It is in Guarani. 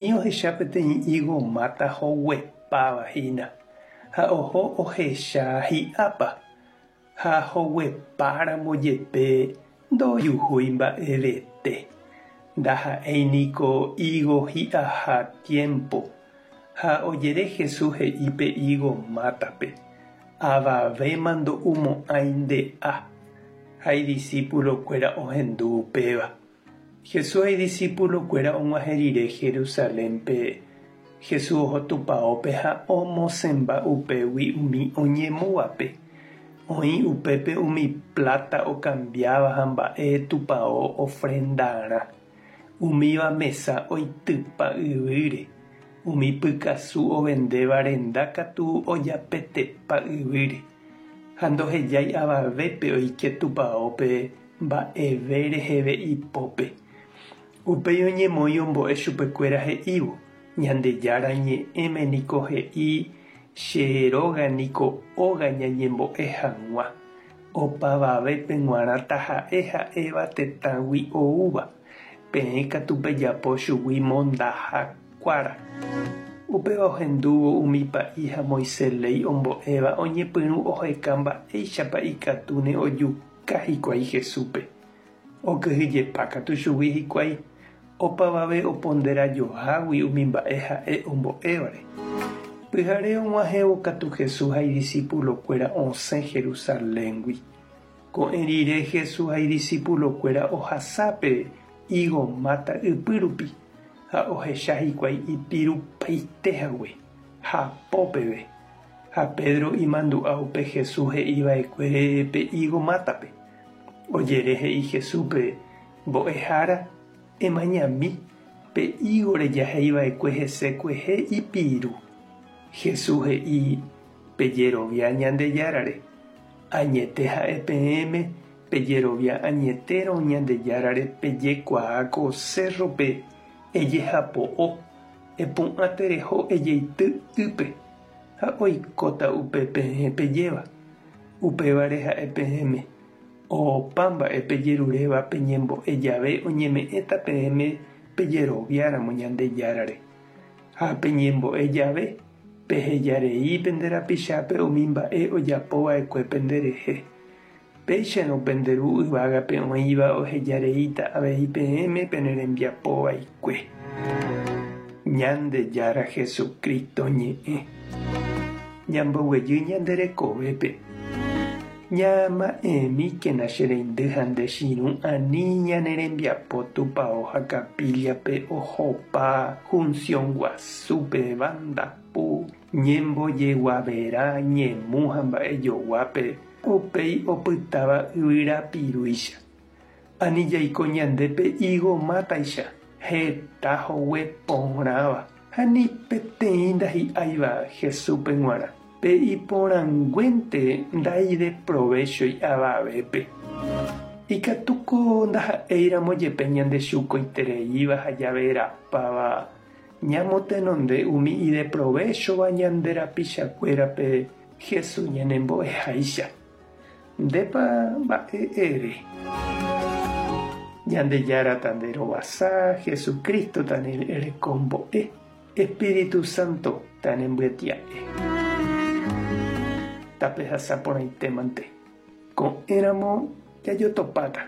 Ohecha peteĩ ígo máta hoguepáva hína, ha oho ohecha hi'ápa, ha hoguepáramo jepe ndojuhúi mba'evete. Ndaha'éi niko ígo hi'aha tiémpo. Ha ojere Jesús he'i pe ígo mátape, Avavéma ndo'umo'ãi nde'a. Ha idisípulokuéra ohendu upéva. Jesús ha idisipulokuéra og̃uahẽ rire Jerusalénpe, Jesús oho tupaópe ha omosẽmba upégui umi oñemúvape. Oĩ upépe umi pláta okambiáva ha mba'e tupao ofrendarã. Umíva mesa oitypa yvýre, umi pykasu ovendéva renda katu ojapetepa yvýre, ha ndohejái avavépe oike tupaópe mba'eve reheve ipópe. Upéi oñemoĩ ombo'e chupekuéra he'ívo, Ñandejára Ñe'ẽme niko he'i, Che róga niko óga ñañembo'e hag̃ua, opavavépe g̃uarã taha'e ha'éva tetãgui oúva, peẽ katu pejapo chugui mondaha kuára. Upéva ohendúvo umi pa'i ha Moisés léi ombo'éva oñepyrũ oheka mba'éichapa ikatúne ojuka Ka hikuái Jesúspe. Okyhyjepa katu chugui hikuái, opavave oponderajohágui umi mba'e ha'e ombo'évare. Pyhare og̃uahẽvo katu Jesús ha idisipulokuéra osẽ Jerusaléngui. Ko'ẽ rire Jesús ha idisipulokuéra ohasa pe ígo máta ypy rupi, ha ohecha hikuái ipirupaite hague, hapo peve. Ha Pedro imandu'a upe Jesús he'i va'ekuére pe ígo mátape. Ojere he'i Jesúspe, Mbo'ehára, emañami, pe ígo rejahéi va'ekue hese kuehe ipiru. Jesús he'i, Pejerovia Ñandejárare. Añete ha'e peẽme, pejerovia añetérõ Ñandejárare pejekuaa ko sérrope ejehapo'o, epu'ã tereho ejeity ýpe. ha oikóta upe peẽ pejéva. Upévare ha'e peẽme, Opa mba'e pejeruréva peñembo'e jave oñeme'ẽta peẽme pejeroviáramo Ñandejárare. Ha peñembo'e jave, peheja rei pende rapichápe umi mba'e ojapo va'ekue penderehe. Péicharõ pende Ru yvágape oĩva oheja reíta avei peẽme pene rembiapo vaikue. Ñandejára Jesucristo ñe'ẽ. Ñamboguejy ñande rekovépe. Ñama'ẽmíkena che reindy ha nde chirũ ani ñane rembiapo tupao ha capilla-pe ohopa junción guasúpe, banda pu, ñembojeguaverã, ñemu ha mba'ejoguápe. Upéi opytáva yvyra pirúicha. Ani jaiko ñande pe ígo mátaicha, heta hogue porãva, ha ni peteĩ ndahi'áiva Jesúspe g̃uarã. Pe iporãnguénte ndaideprovéchoi avavépe. Ikatúko ndaha'éiramo jepe ñande chukoitereíva ha javerapáva ñamotenonde umi ideprovéchova ñande rapichakuérape Jesús ñanembo'eháicha. Ndépa mba'e ere? Ñandejára tanderovasa, Jesucristo tanerekombo'e, Espíritu Santo tanembyetia'e. Tapehasa porãitémante. Ko'ẽramo jajotopáta.